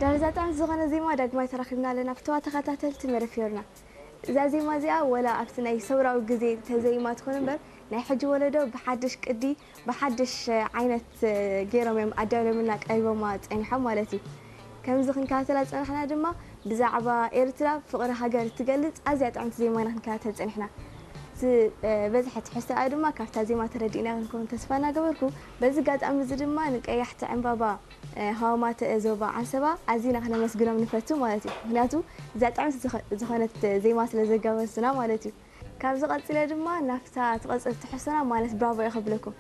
ዳርዛ ጣዕሚ ዝኾነ ዜማ ዳግማይ ተራኺብና ኣለና ፍተዋ ተኸታተልቲ መደብ ፊዮርና። እዛ ዜማ እዚኣ ወላ ኣብቲ ናይ ሰውራዊ ግዜ ተዘይማ ትኾን እምበር ናይ ሕጂ ወለዶ ብሓድሽ ቅዲ ብሓድሽ ዓይነት ገይሮም እዮም ኣዳልዮምና ቀሪቦማ ጸኒሖም ማለት እዩ። ከምዚ ክንከታተላ ዝጸናሕና ድማ ብዛዕባ ኤርትራ ፍቕሪ ሃገር እትገልጽ ኣዝያ ጥዕምቲ ዜማ ኢና ክንከታተል ጸኒሕና። ዝበዝሐ ትሕዝቶኣ ድማ ካብታ ዜማ ተረዲእና ክንከውን ተስፋ እናገበርኩ በዚ ኣጋጣሚ እዚ ድማ ንቀያሕቲ ዕምባባ ሃዋማተ ዞባ ዓንሰባ ኣዚና ክነመስግኖም ንፈቱ ማለት እዩ። ምክንያቱ እዛ ጥዕምቲ ዝኾነት ዜማ ስለ ዘጋበዙና ማለት እዩ። ካብዚ ቀጺለ ድማ ናብታ ትቐጽል ትሕዝቶና ማለት ብራቮ እየ ከብለኩም።